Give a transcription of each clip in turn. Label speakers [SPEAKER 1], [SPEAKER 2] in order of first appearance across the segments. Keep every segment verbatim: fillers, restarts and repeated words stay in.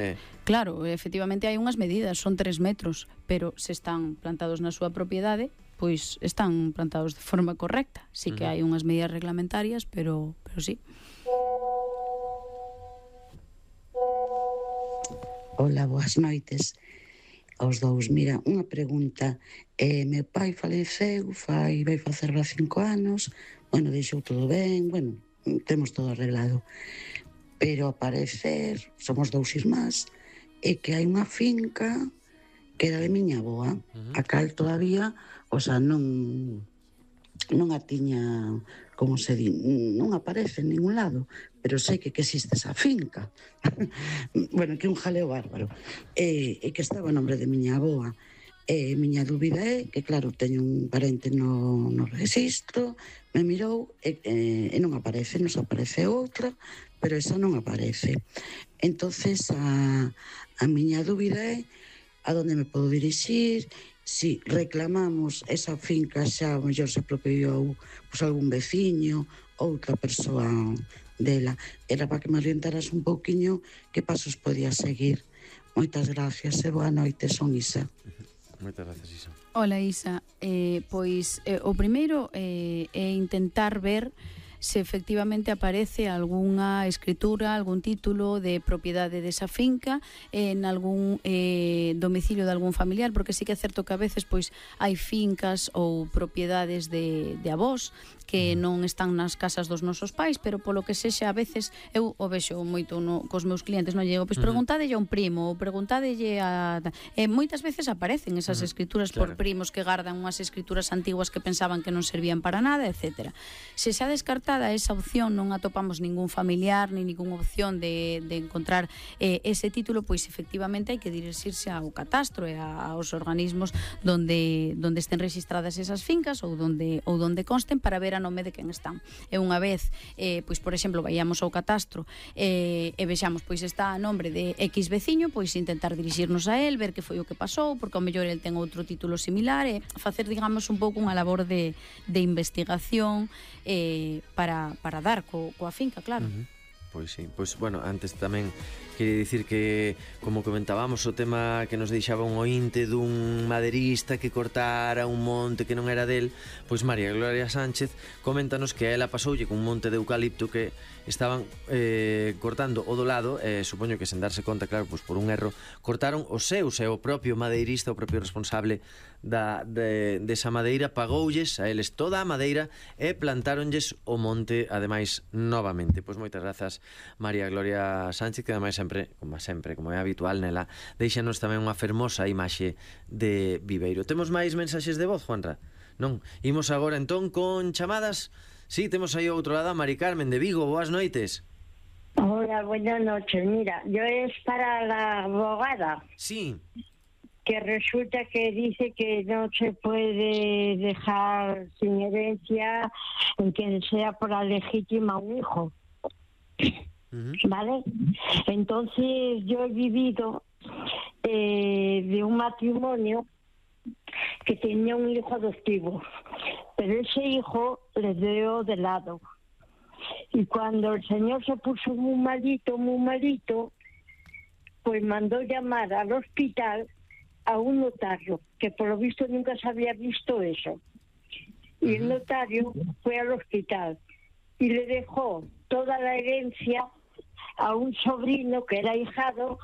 [SPEAKER 1] Eh.
[SPEAKER 2] Claro, efectivamente hai unhas medidas, son tres metros, pero se están plantados na súa propiedade, pois están plantados de forma correcta. Sí que
[SPEAKER 1] Uh-huh.
[SPEAKER 2] hai unhas medidas reglamentarias, pero, pero sí.
[SPEAKER 3] Hola, boas noites aos dous. Mira, unha pregunta. Eh, meu pai faleceu, fai, vai facer a cinco anos, bueno, deixou todo ben, bueno, temos todo arreglado. Pero ao parecer, somos dous irmás, e que hai unha finca que era de miña avoa, uh-huh. a cal todavía, o sea, non non a tiña, como se di, non aparece en ningún lado, pero sei que, que existe esa finca. Bueno, que un jaleo bárbaro. E, e que estaba a nombre de miña avoa. E miña dúbida é que, claro, teño un parente no, no registro, me mirou e, e, e non aparece, nos aparece outra, pero esa non aparece. Entonces a, a miña dúbida é a donde me podo dirixir, si reclamamos esa finca xa, o mellor se apropiou pues, algún veciño, outra persoa dela. Era para que me orientaras un pouquiño que pasos podía seguir. Moitas gracias e boa noite, son Isa.
[SPEAKER 1] Moitas gracias, Isa.
[SPEAKER 2] Hola, Isa. Eh, pois eh, o primeiro eh, é intentar ver se efectivamente aparece algunha escritura, algún título de propiedade desa finca en algún eh, domicilio de algún familiar, porque sí que é certo que a veces pois hai fincas ou propiedades de, de avós que non están nas casas dos nosos pais, pero polo que sexa a veces eu o vexo moito no, cos meus clientes, non llego, pois preguntadelle a un primo ou preguntadelle a... E moitas veces aparecen esas escrituras
[SPEAKER 1] claro.
[SPEAKER 2] por primos que gardan unhas escrituras antiguas que pensaban que non servían para nada, etcétera. Se xa descartada esa opción, non atopamos ningún familiar ni ninguna opción de, de encontrar eh, ese título, pois efectivamente hai que dirixirse ao catastro e a, aos organismos donde, donde estén registradas esas fincas ou donde, ou donde consten para ver a nome de quen están. E unha vez, eh, pois por exemplo, vayamos ao catastro eh, e vexamos, pois está a nombre de X veciño, pois intentar dirixirnos a él, ver que foi o que pasou, porque ao mellor el ten outro título similar, e facer, digamos, un pouco unha labor de, de investigación eh, para, para dar co, coa finca, claro.
[SPEAKER 1] Uh-huh. Pois sí, pois, bueno, antes tamén quería dicir que, como comentábamos, o tema que nos deixaba un ointe dun maderista que cortara un monte que non era del, pois María Gloria Sánchez coméntanos que a ela pasoulle con un monte de eucalipto que estaban eh, cortando o do lado, eh, supoño que sen darse conta, claro, pois por un erro, cortaron os seus, e o propio madeirista, o propio responsable da, de, desa madeira, pagoulles a eles toda a madeira e plantáronlles o monte, ademais, novamente. Pois moitas grazas, María Gloria Sánchez, que ademais sempre, como sempre, como é habitual nela, deixanos tamén unha fermosa imaxe de Viveiro. Temos máis mensaxes de voz, Juanra? Non? Imos agora entón con chamadas. Sí, temos aí ao outro lado a Mari Carmen de Vigo. Boas noites.
[SPEAKER 4] Hola, buenas noches. Mira, yo es para la abogada.
[SPEAKER 1] Sí.
[SPEAKER 4] Que resulta que dice que no se puede dejar sin herencia en que sea por la legítima un hijo. Uh-huh. ¿Vale? Entonces yo he vivido eh, de un matrimonio que tenía un hijo adoptivo, pero ese hijo le dio de lado. Y cuando el señor se puso muy malito, muy malito, pues mandó llamar al hospital a un notario, que por lo visto nunca se había visto eso. Y el notario fue al hospital y le dejó toda la herencia a un sobrino que era ahijado,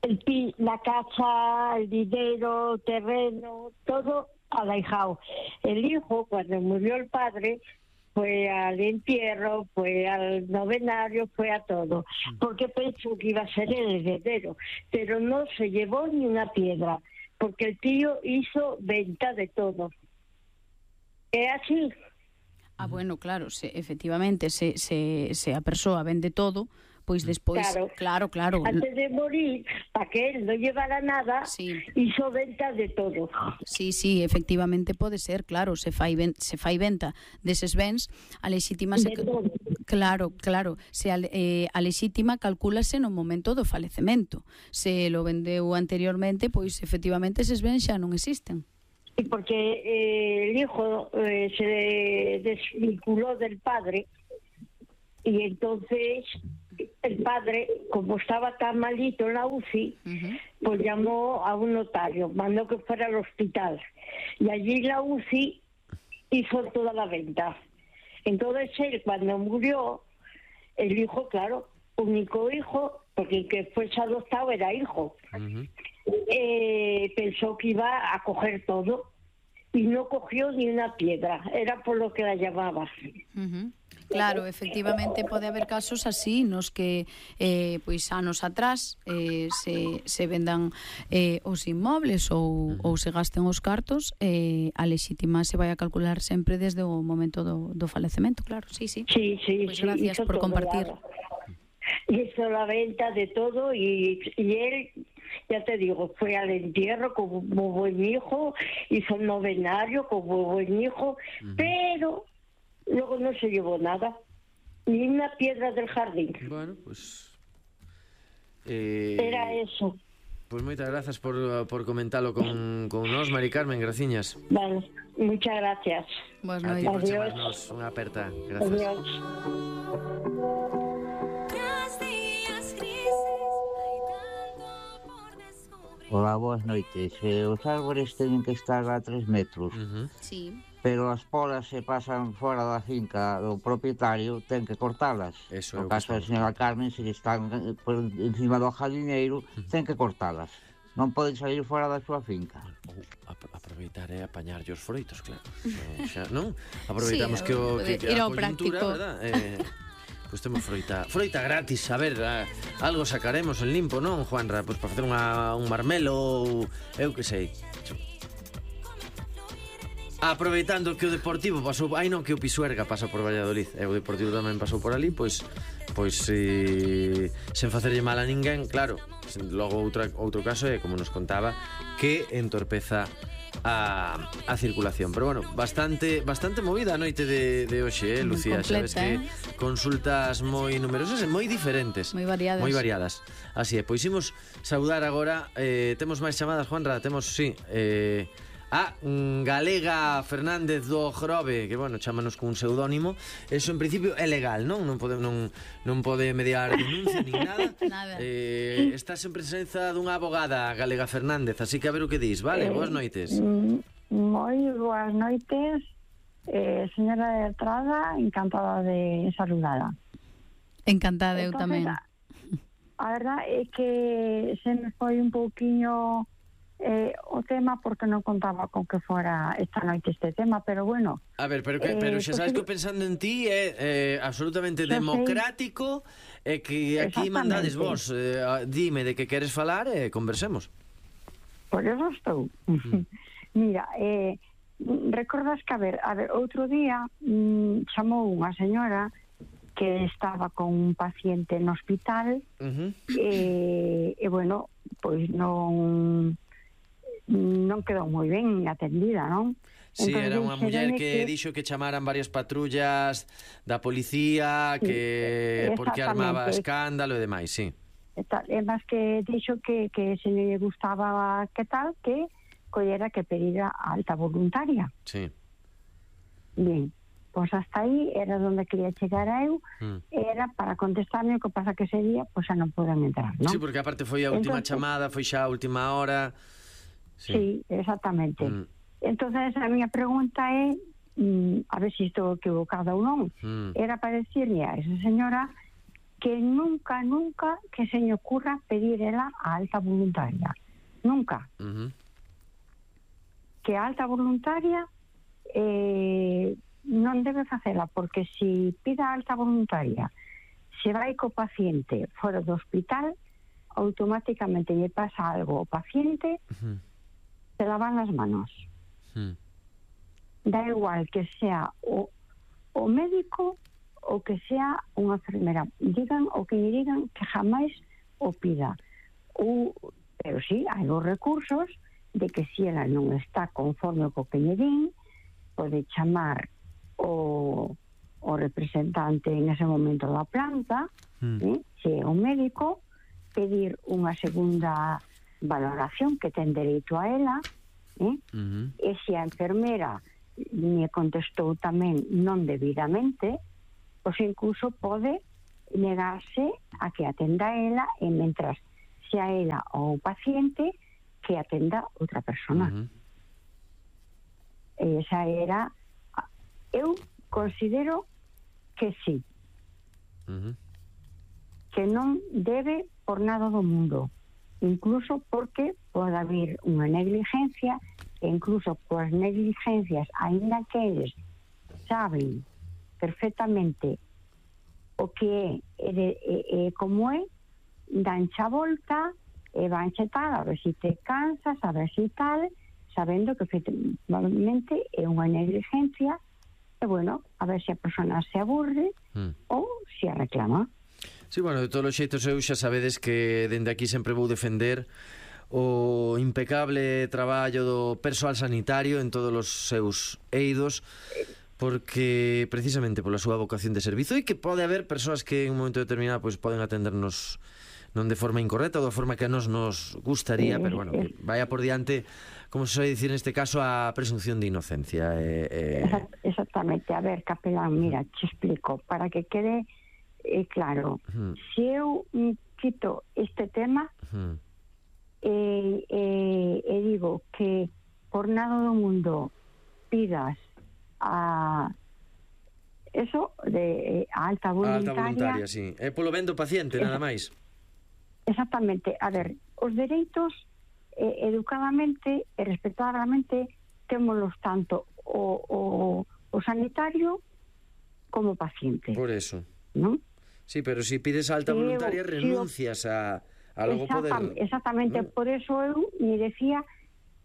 [SPEAKER 4] el pi, la casa, el dinero, terreno, todo al ahijado. El hijo, cuando murió el padre, fue al entierro, fue al novenario, fue a todo, porque pensó que iba a ser el heredero, pero no se llevó ni una piedra, porque el tío hizo venta de todo. ¿Es así?
[SPEAKER 2] Ah, bueno, claro, se, efectivamente, se, se, se a persoa vende todo, pois despois,
[SPEAKER 4] claro,
[SPEAKER 2] claro, claro.
[SPEAKER 4] Antes de morir, para que él no llevara nada, sí. Hizo venta de todo.
[SPEAKER 2] Sí, sí, efectivamente pode ser, claro, se fai ven, se fai venta deses bens, a lexítima se, claro, claro, se a, eh, a lexítima calcúlase no momento do falecemento. Se lo vendeu anteriormente, pois efectivamente eses bens xa non existen.
[SPEAKER 4] Sí, porque eh, el hijo eh, se desvinculó del padre y entonces el padre, como estaba tan malito en la U C I, uh-huh. pues llamó a un notario, mandó que fuera al hospital. Y allí la U C I hizo toda la venta. Entonces él, cuando murió, el hijo, claro, único hijo, porque el que fuese adoptado era hijo, uh-huh. eh, pensó que iba a coger todo y no cogió ni una piedra. Era por lo que la llamaba.
[SPEAKER 2] Uh-huh. Claro, efectivamente pode haber casos así nos que eh, pois anos atrás eh, se, se vendan eh, os inmobles ou, ou se gasten os cartos, eh, a lexítima se vai a calcular sempre desde o momento do, do falecemento, claro, sí, sí.
[SPEAKER 4] Sí, sí,
[SPEAKER 2] pues
[SPEAKER 4] sí,
[SPEAKER 2] gracias por compartir.
[SPEAKER 4] Hizo la venta de todo y, y él, ya te digo, fue al entierro como buen hijo, hizo el novenario como buen hijo, uh-huh. pero luego no se llevó nada, ni una piedra del jardín.
[SPEAKER 1] Bueno, pues... Eh,
[SPEAKER 4] Era eso.
[SPEAKER 1] Pues moitas grazas por, por comentarlo con, con nos, Mari Carmen, graciñas.
[SPEAKER 4] Vale, muchas gracias.
[SPEAKER 2] Buenas
[SPEAKER 1] noches. A ti por
[SPEAKER 4] Adiós.
[SPEAKER 1] chamarnos unha aperta. Gracias.
[SPEAKER 4] Adiós.
[SPEAKER 5] Hola, boas noites. Eh, os árbores teñen que estar a tres metros.
[SPEAKER 2] Uh-huh. Sí.
[SPEAKER 5] Pero as polas se pasan fora da finca do propietario, ten que cortalas.
[SPEAKER 1] Eso
[SPEAKER 5] no caso da señora Carmen, se están por encima do jardineiro, uh-huh. ten que cortalas. Non poden salir fora da súa finca.
[SPEAKER 1] Ou ap- aproveitar e apañar os froitos, claro. Eh, xa, non? Aproveitamos
[SPEAKER 2] sí,
[SPEAKER 1] que, o, que, que a
[SPEAKER 2] coyuntura,
[SPEAKER 1] verdad? Eh, pois pues temos froita, froita gratis, a ver, a, algo sacaremos en limpo, non, Juanra? Pois pues para facer unha, un marmelo ou eu que sei. Aproveitando que o Deportivo pasou, ai non, que o Pisuerga pasa por Valladolid, e o Deportivo tamén pasou por ali, pois pois eh, sen facerlle mal a ninguén, claro. Logo outra, outro caso é, como nos contaba, que entorpeza a, a circulación. Pero bueno, bastante bastante movida a noite de, de hoxe, eh, Lucía.
[SPEAKER 2] Completa,
[SPEAKER 1] Sabes que
[SPEAKER 2] eh?
[SPEAKER 1] consultas moi numerosas e moi diferentes,
[SPEAKER 2] moi variadas.
[SPEAKER 1] moi variadas. Así é, pois imos saudar agora, eh, temos máis chamadas, Juanra, temos, sí, eh, a Galega Fernández do Grove, que, bueno, chámanos con un pseudónimo. Eso, en principio, é legal, non? Non pode, non, non pode mediar denuncia nin nada.
[SPEAKER 2] Nada.
[SPEAKER 1] Eh, estás en presenza dunha abogada, Galega Fernández, así que a ver o que dis, vale? Eh, boas noites.
[SPEAKER 6] Moi boas noites, eh, señora de Estrada, encantada de saludada.
[SPEAKER 2] Encantada, eu
[SPEAKER 6] Entonces,
[SPEAKER 2] tamén.
[SPEAKER 6] A, a verdad é que se me foi un pouquiño eh, o tema porque non contaba con que fora esta noite este tema, pero bueno.
[SPEAKER 1] A ver, pero, que, pero xa sabes que pensando en ti é eh, absolutamente democrático e eh, que aquí mandades vos. Eh, dime de que queres falar e eh, conversemos.
[SPEAKER 6] Por eso estou. Mm. Mira, eh, recordas que, a ver, a ver, outro día mm, chamou unha señora que estaba con un paciente no hospital, uh-huh. e, e bueno, pois non non quedou moi ben atendida, non?
[SPEAKER 1] Sí, entonces, era unha muller que, que dixo que chamaran varias patrullas da policía, que porque armaba escándalo e demais, sí.
[SPEAKER 6] E máis que dixo que, que se lle gustaba que tal, que collera que pedira a alta voluntaria.
[SPEAKER 1] Sí.
[SPEAKER 6] Bien, pois pues hasta aí era onde quería chegar a eu, mm. era para contestarme, o que pasa que ese día pois pues, xa non poden entrar, non?
[SPEAKER 1] Sí, porque aparte foi a última entonces, chamada, foi xa a última hora.
[SPEAKER 6] Sí, sí, exactamente. Mm. Entonces a miña pregunta é, mm, a ver se estou equivocada ou non, mm. era para decirle a esa señora que nunca, nunca que se me ocurra pedir ela a alta voluntaria. Nunca.
[SPEAKER 1] Uh-huh.
[SPEAKER 6] Que a alta voluntaria eh, non debe facela, porque se pida a alta voluntaria, se vai co paciente fora do hospital, automáticamente lle pasa algo ao paciente, uh-huh. se lavan as manos. Uh-huh. Da igual que sea o, o médico ou que sea unha enfermera, digan o que lle digan, que jamais o pida. O, pero sí, hai os recursos de que se ela non está conforme co que lle din, pode chamar o, o representante en ese momento da planta, mm. eh, se é un médico, pedir unha segunda valoración que ten dereito a ela, eh, mm-hmm. e se a enfermera me contestou tamén non debidamente, pois incluso pode negarse a que atenda ela e mentras sea ela ou o paciente que atenda outra persona. Uh-huh. Esa era... Eu considero que sí. Uh-huh. Que non debe por nada do mundo. Incluso porque pode haber unha negligencia e incluso coas negligencias, aínda que eles saben perfectamente o que é e, e, e como é, danche a volta e vanche tal, a ver se te cansas, a ver se tal, sabendo que efectivamente é unha negligencia e bueno, a ver se a persona se aburre mm. ou se a reclama.
[SPEAKER 1] Sí, bueno, de todos os xeitos eu xa sabedes que dende aquí sempre vou defender o impecable traballo do persoal sanitario en todos os seus eidos, porque precisamente pola súa vocación de servizo, e que pode haber persoas que en un momento determinado pois poden atendernos non de forma incorrecta ou de forma que a nos nos gustaría, pero bueno, que vaya por diante, como se soe dicir neste caso, a presunción de inocencia. Eh, eh...
[SPEAKER 6] Exactamente. A ver, capelán, mira, te explico, para que quede eh, claro. Uh-huh. Se eu quito este tema, uh-huh. e, e, e digo que por nada do mundo pidas a eso de a alta voluntaria,
[SPEAKER 1] a alta voluntaria, sí. É polo ben do paciente, nada máis.
[SPEAKER 6] Exactamente. A ver, os dereitos eh, educadamente e respetadamente témolos tanto o, o, o sanitario como o paciente.
[SPEAKER 1] Por eso.
[SPEAKER 6] ¿No?
[SPEAKER 1] Sí, pero si pides a alta voluntaria eu, renuncias a, a logo poder...
[SPEAKER 6] Exactamente, ¿no? Por eso eu me decía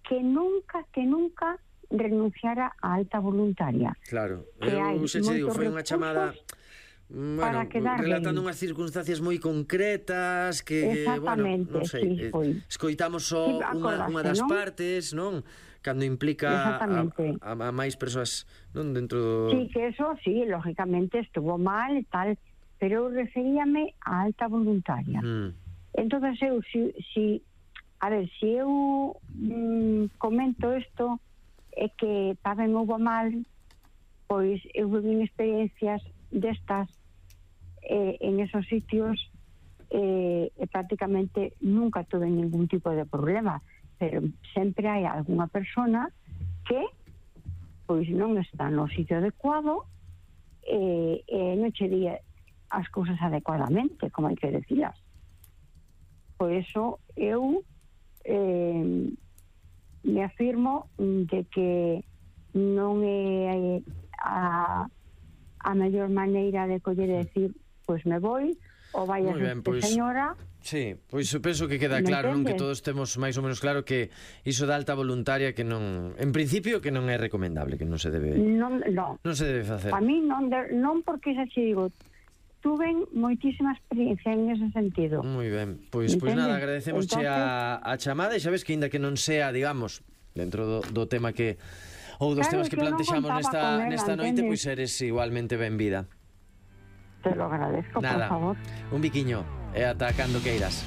[SPEAKER 6] que nunca, que nunca renunciara a alta voluntaria.
[SPEAKER 1] Claro, eu se che digo, foi unha chamada... Bueno, relatando unhas circunstancias moi concretas que, bueno, non sei, sí, escoitamos só sí, unha, unha das ¿no? partes, non? Cando implica a, a, a máis persoas, non? Dentro do...
[SPEAKER 6] Sí, que eso, sí, lógicamente estuvo mal e tal, pero eu referíame a alta voluntaria. Mm. Entonces eu, si, si a ver, si eu mm, comento isto é que tamén houve mal, pois eu viví experiencias destas eh, en esos sitios eh, e prácticamente nunca tuve ningún tipo de problema, pero sempre hai alguna persona que pois non está no sitio adecuado e eh, eh, non che di as cousas adecuadamente, como hai que decirlas. Por eso eu eh, me afirmo de que non é a a mellor maneira de coller e decir, pois me vou, ou vai a ser pues, señora...
[SPEAKER 1] Sí, pois eu penso que queda claro, non, que todos temos máis ou menos claro que iso da alta voluntaria que non, en principio, que non é recomendable, que non se debe...
[SPEAKER 6] Non, non.
[SPEAKER 1] Non se debe facer.
[SPEAKER 6] A mí non, de, non porque xa che digo, tuven moitísima experiencia en ese sentido.
[SPEAKER 1] Moi ben, pois, pois nada, agradecemos Entonces... a, a chamada, e xa ves que ainda que non sea, digamos, dentro do, do tema que... ou dos claro, temas que plantexamos nesta, nesta noite, pois eres igualmente benvida.
[SPEAKER 6] Te lo agradezco,
[SPEAKER 1] Nada,
[SPEAKER 6] por favor.
[SPEAKER 1] Un biquiño, e ata cando queiras.